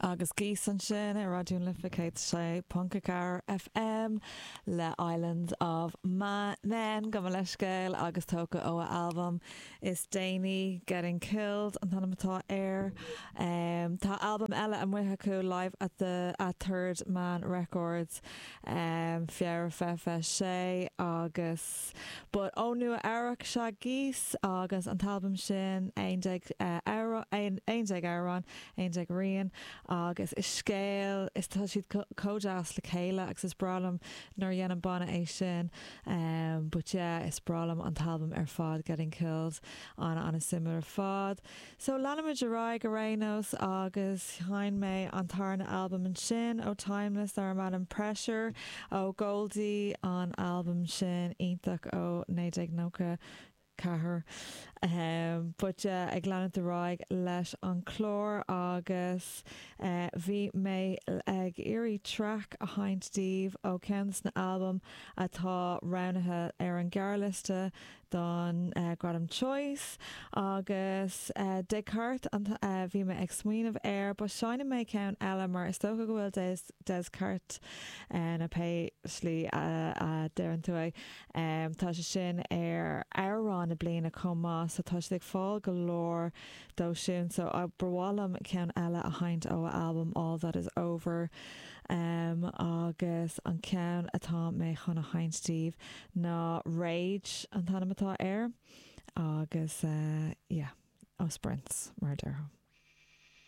Agus Geese ansin ar Raidió na Life 106.4 FM le Islands of Men, gabh mo leithscéal, agus tógtha ó a albam is déanaí, Getting Killed an t-ainm atá air. Tá albam eile amuigh acu, Live at the at Third Man Records, Feabhra 2026, agus but ó Nua Eabhrac is ea Geese agus an t-albam sin, 11 amhrán, 11 amhrán, 11 rian agus is scéal, is tá siad chomh deas le chéile agus is breá liom nuair a dhéanann banna é sin but yeah is breá liom an t-albam ar fad Getting Killed ana ana suimiúil ar fad. So leanfaimid ar aghaidh ar aon nós agus sheinn mé an tarna albam ansin ó Timeless darb ainm Pressure ó Goldie an albam sin iontach ó 1990 4. But yeah, ag leanúint ar aghaidh leis an chlár agus bhí mé ag iarraidh traic a sheinnt daoibh ó cheann des na albaim atá roghnaithe ar an ghearrliosta don Gradam Choice agus Descartes an bhí mé ag smaoineamh air but seinnfidh mé ceann eile mar is dócha go bhfuil Des Descartes nó pé slí a deireann tú é. Tá sé sin ar amhrán na bliana chomh maith so tá siad ag fáil go leor dó sin so ba mhaith liom ceann eile a sheinnt ó a albam All That Is Over agus an ceann atá mé chun a sheinnt daoibh ná Rage an t-ainm atá air agus yeah ó Sprints mar a déarfá.